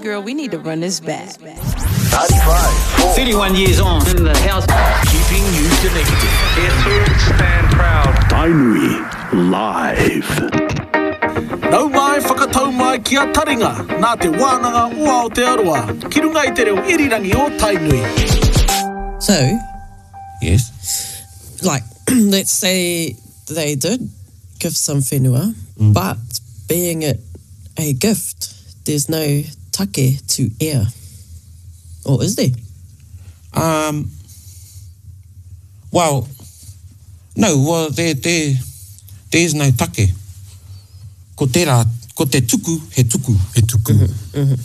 Girl, we need to run this back. 95. 31 years on in the house. Keeping you connected. Here to stand proud. Tainui Live. Nau mai, whakatau mai ki a Taringa, nā Te Wānanga o Aotearoa, ki runga i te reo irirangi o Tainui. So, Yes. like, let's say they did give some whenua, mm. but being it a gift, there's no take to air. Or is there? Um, well, no, well, there, there, there's no take. Ko tērā, ko te tuku, he tuku. He tuku. Mm -hmm.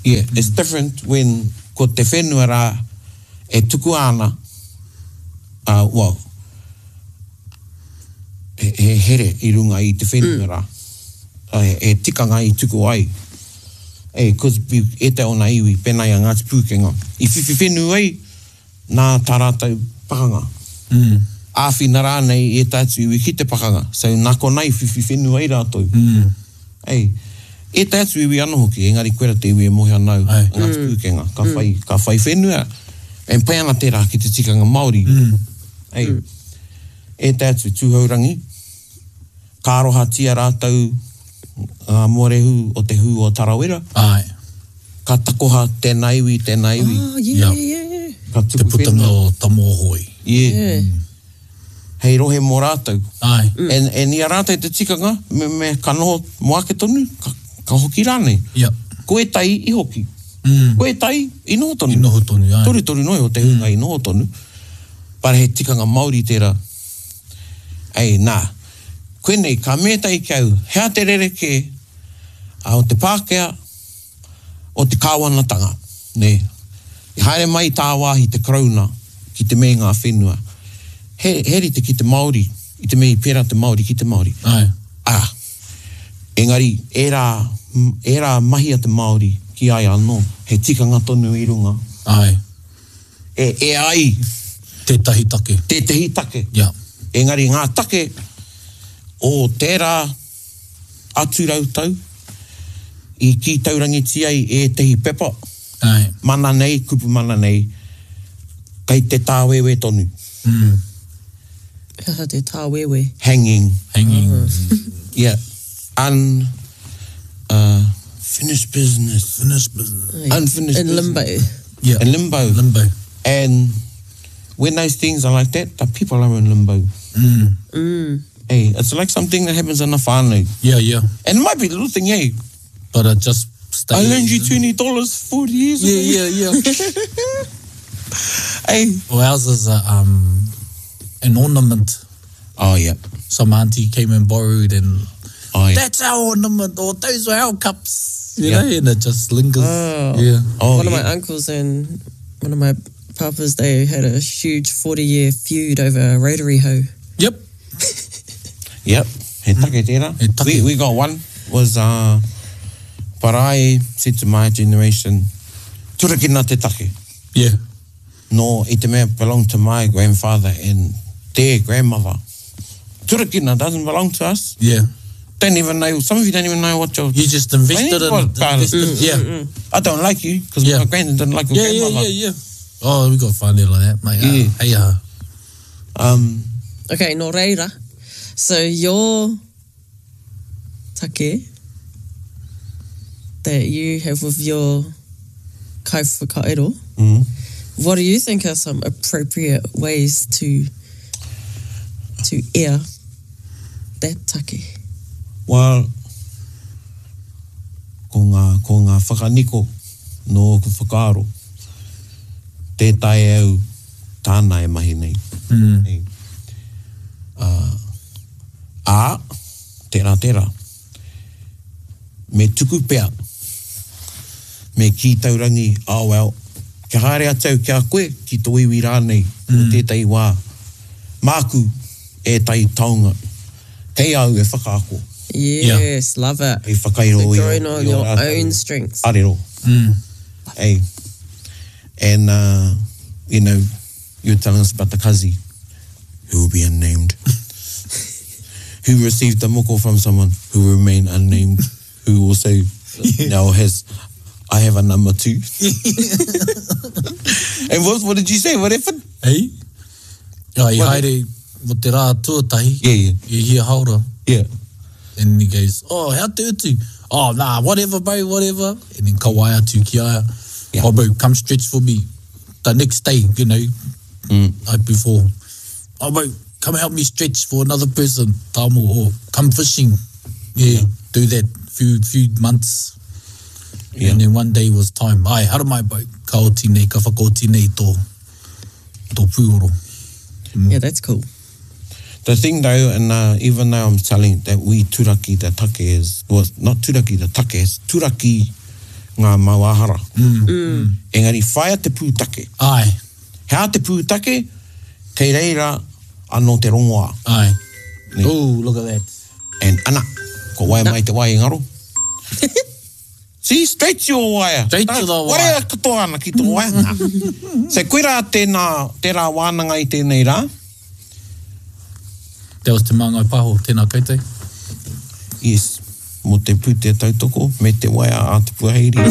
Yeah, it's different when ko te whenua rā e tukua ana, uh, well, he, he here i runga i te whenua mm. rā. He, he tikanga i tuku ai. E, cause ētahi o ngā iwi, pēnā i a Ngāti Pūkenga, i whiwhi whenua ai nā tā rātou pakanga. Mm. Āwhina rānei i ētahi atu iwi ki te pakanga. So, nā konā i whiwhi whenua ai rātou. Mm. Ei, ētahi atu iwi anō hoki, engari koira te iwi e mōhio ana au, a Ngāti mm. Pūkenga. Ka, mm. whai, ka whai whenua, e pai ana tērā ki te tikanga Māori. Mm. Ei, mm. Ētahi atu Tūhourangi, ka arohatia rātou ngā mōrehu o te hū o Tarawera. Āe. Ka takoha tēnā iwi, tēnā iwi. Oh, yeah, yeah, yeah. Ka tuku Te putanga whenua. o Tamōhoi. Yeah. Yeah. Hei rohe mō rātou. Āe. And, and i a rātou te tikanga, me, me, ka noho mō ake tonu, ka, ka hoki rānei. Yep. Ko ētahi i hoki. Ko ētahi i noho tonu. I noho tonu, āe. Torutoru noa iho te hunga i noho tonu. But he tikanga Māori tērā. Ei, nā, koinei, ka mea tahi ki au, he aha te rerekē o te Pākehā, o te kāwanatanga, nē? I haere mai i tāwāhi te Karauna ki te me ngā whenua. He, he rite ki te Māori, i te mea i pērā te Māori ki te Māori. Āe. Ā, engari, ērā, ērā mahi a te Māori ki a ia anō, he tikanga tonu i runga. Āe. E, e ai. Tētahi take. Tētehi take. Yeah. Engari ngā take o tērā atu rautau i kī taurangitia ai ētehi pepa, Aye. mana nei, kupu mana nei, kei te tāwewe tonu. Mm. He aha te tāwewe? Hanging. Hanging. Yeah. Un, uh, finished business. Finished business. Unfinished In business. limbo. Yeah. In limbo. Limbo. And when those things are like that, the people are in limbo. Mm. Mm. Hey, it's like something that happens in a whānau. Yeah, yeah. And it might be a little thing, eh? But it just stays. I loaned you $20 40 years ago. Yeah, yeah, yeah. Hey. Well, ours is a, um, an ornament. Oh, yeah. Some auntie came and borrowed and Oh, yeah. that's our ornament or those are our cups. You Yeah. know, and it just lingers. Oh. Yeah. Oh, one of yeah. my uncles and one of my papas, they had a huge 40 year feud over a rotary hoe. Yep. Yep. He take tērā. He take. We, we got one was, uh, but I said to my generation, turakina te take. Yeah. No, i te mea belonged to my grandfather and their grandmother. Turakina doesn't belong to us. Yeah. Don't even know, some of you don't even know what you're... You just invested in What it. about it? Invested, yeah. I don't like you because Yeah. my granddad didn't like your Yeah, yeah, grandmother. yeah, yeah. Oh, we got whānau like that, mate. Yeah. Hey, uh, Um, Okay, nō reira. So your take that you have with your kaiwhakaero, mm. what do you think are some appropriate ways to to air that take? Well, ko ngā, ko ngā whakaniko nō ōku whakaaro, tē taea au tāna e mahi nei. Mm. Nei. Uh, ā, tērā, tērā. Me tuku pea, me kī taurangi, oh well, kia haere atu au ki a koe, ki tō iwi rānei, mm. o tētahi wā. Māku ētahi taonga, kei au e whakaako. Yes, yeah. love it. Hei whakairo so i drawing on i your rātou own strengths. Arero. Mm. Hey. And, uh, you know, you were telling us about the kazi, who will be unnamed, who received the moko from someone who will remain unnamed, who also now has I have a number too. And what, what did you say? What happened? Hey? Oh, i haere mo te rā tuatahi. Yeah, yeah. I hia haora. Yeah. And he goes, oh, hea te utu? Oh, nah, whatever, bro, whatever. And then ka waea atu ki a ia. Yeah. Oh, bro, come stretch for me. The next day, you know, mm. night before. Oh, bro, come help me stretch for another person. Tamo, or come fishing. Yeah, yeah. do that few few months. Yeah. And then one day was time. Ai, haramai, bro, ka oti nei, ka whakaoti nei tō, tō pūoro. Mm. Yeah, that's cool. The thing though, and uh, even though I'm telling that we turaki the take is, well, not turaki the take, it's turaki ngā mauāhara. Mm. Mm. Engari whaia te pūtake. Ai. Hea te pūtake, kei reira anō te rongoā. Ai. Ne. Oh, look at that. And ana, ko waia mai te wai i ngaro. See, straight to your wire. Straight to the wire. Warea katoa ana ki tō wire. Nā. So koirā tēnā, tērā wānanga i tēnei rā. That was Te Māngai Pāho, tēnā koutou. Yes, mō te pūtea tautoko me te waea a Te Puaheiri.